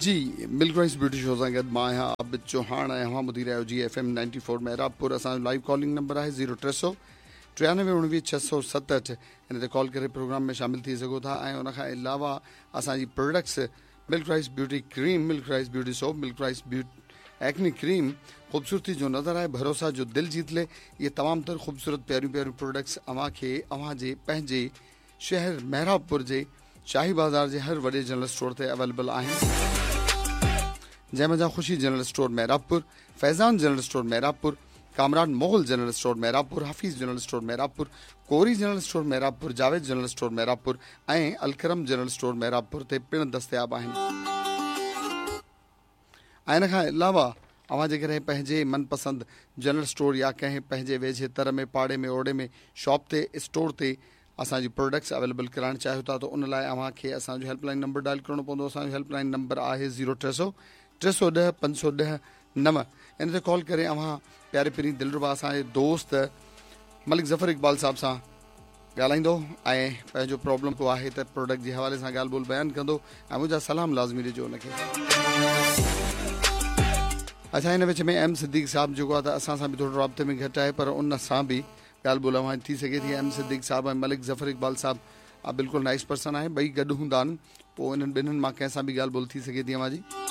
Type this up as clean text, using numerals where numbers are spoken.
جي ملڪ rice beauty show سان گڏ مان آهيان عابد چوهاڻ ۽ اوهان ٻڌي رهيا آهيو جي ايف ايم 94 محرابپور. اسان جو لائيو ڪالنگ نمبر آهي زيرو 300 93 19 667. ان تي ڪال ڪري پروگرام ۾ شامل ٿي سگهو ٿا ۽ ان کان علاوه اسان جي products milk rice beauty cream, milk rice beauty soap, milk rice acne cream, خوبصورتي جو نظر آهي ڀروسا جو دل جيت لي، اهي تمام تر خوبصورت پياريون پياريون پروڊڪٽس اوهان کي اوهان جي پنهنجي شهر محرابپور جي شاهي بازار جي هر وڏي جنرل اسٽور تي اويليبل آهن، جنهن منجهان Khushi general store Mehrabpur, Faizan general store Mehrabpur, Kamran Mughal general store Mehrabpur, Hafeez general store Mehrabpur, Kori general store Mehrabpur, Javed general store Mehrabpur ۽ Alkaram general store Mehrabpur تي پڻ دستياب آهن. ۽ ان کان علاوه اوهان جيڪڏهن پنهنجي من پسند جنرل اسٽور يا ڪنهن پنهنجي ويجهي تر ۾ پاڙي ۾ اوڙي ۾ شاپ تي اسٽور تي اسان جي پروڊڪٽس اويليبل ڪرائڻ چاهيو ٿا ته ان لاء اوهان کي اسان جو هيلپ لائن نمبر ڊائل ڪرڻو پوندو. اسان جو هيلپ لائن نمبر آهي زيرو 300 310 510 9. ان تي ڪال ڪري اوهان پياري پرين دلربا اسان جي دوست ملڪ ظفر اقبال صاحب سان ڳالهائيندو ۽ پنهنجو پرابلم ڪو آهي ته پروڊڪٽ جي حوالي سان ڳالهه ٻولهه بيان ڪندو ۽ منهنجا سلام لازمي ڏجو ان کي. اڇا ان وچ ۾ ايم صديق صاحب جيڪو آهي ته اسان سان به ٿورو رابطي ۾ گهٽ آهي پر ان سان به ڳالهه ٻولهه اوهان جي ٿي سگهي ٿي. ايم صديق صاحب ۽ ملڪ ظفر اقبال صاحب بلڪل نائيس پرسن آهن، ٻئي گڏ هوندا آهن، پوء انهن ٻنهن مان ڪنهن سان به ڳالهه ٻولهه ٿي سگهي ٿي اوهان جي.